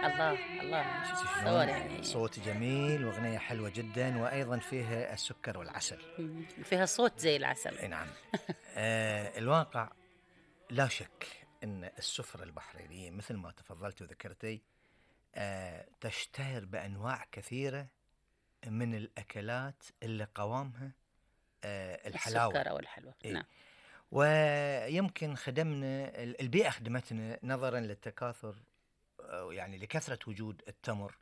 الله الله. شفتي تصور شلون؟ يعني. صوت جميل واغنيه حلوه جدا، وايضا فيها السكر والعسل. فيها صوت زي العسل. اي نعم. الواقع لا شك ان السفرة البحرينية مثل ما تفضلت وذكرتي تشتهر بانواع كثيرة من الاكلات اللي قوامها الحلاوة. السكر أو الحلوى. إيه؟ نعم. ويمكن خدمنا البيئة، خدمتنا نظرا للتكاثر، يعني لكثرة وجود التمر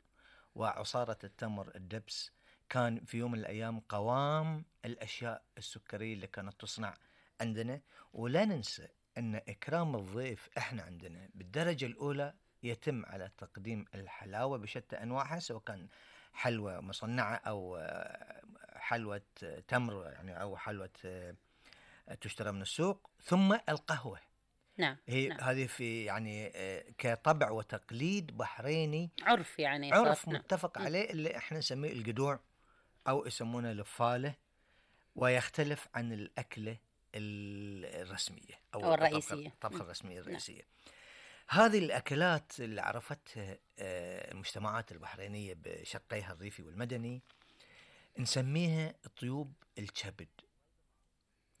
وعصارة التمر الدبس. كان في يوم من الأيام قوام الأشياء السكرية اللي كانت تصنع عندنا. ولا ننسى أن إكرام الضيف إحنا عندنا بالدرجة الأولى يتم على تقديم الحلاوة بشتى أنواعها، سواء كان حلوة مصنعة أو حلوة تمر يعني، أو حلوة تشترى من السوق، ثم القهوة. نعم. هي نعم. هذه في يعني كطبع وتقليد بحريني، عرف يعني صار. عرف نعم. متفق عليه، اللي احنا نسميه القدوع او يسمونه الفالة، ويختلف عن الأكلة الرسمية أو او الرئيسية. الطبخة الرسمية نعم. الرئيسية. هذه الأكلات اللي عرفتها المجتمعات البحرينية بشقيها الريفي والمدني نسميها طيوب الكبد.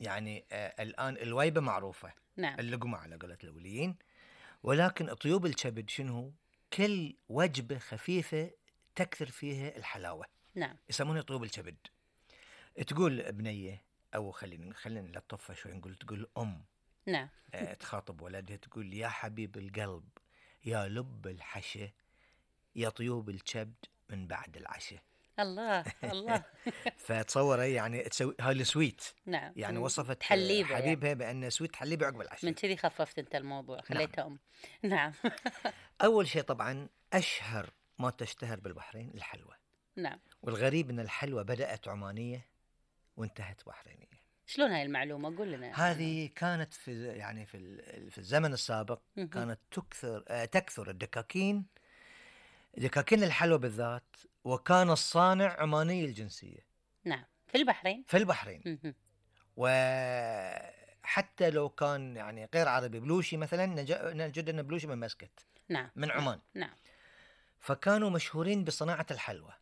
يعني الآن الويبة معروفة، نعم. اللقمة على قولة الأوليين، ولكن طيوب الكبد شنو؟ كل وجبة خفيفة تكثر فيها الحلاوة نعم. يسمونها طيوب الكبد. تقول بنية، أو خلينا نلطفها شوي، نقول تقول نعم. تخاطب ولدها تقول يا حبيب القلب، يا لب الحشا، يا طيوب الكبد من بعد العشاء. الله الله. فتصور يعني تسوي هاي السويت، نعم. يعني وصفت تحليبه يعني. حبيبها بأن سويت تحليبه عقب العشاء. من كذي خففت أنت الموضوع نعم. خليتها نعم. أول شيء طبعا أشهر ما تشتهر بالبحرين الحلوى. نعم. والغريب أن الحلوى بدأت عمانية وانتهت بحرينية. شلون هاي المعلومة؟ قول لنا. هذه كانت في يعني في الزمن السابق كانت تكثر الدكاكين الحلوى بالذات، وكان الصانع عماني الجنسية. نعم. في البحرين. في البحرين. وحتى لو كان يعني غير عربي، بلوشي مثلا نجد أن بلوشي من مسكت. نعم. من عمان. نعم. فكانوا مشهورين بصناعة الحلوى.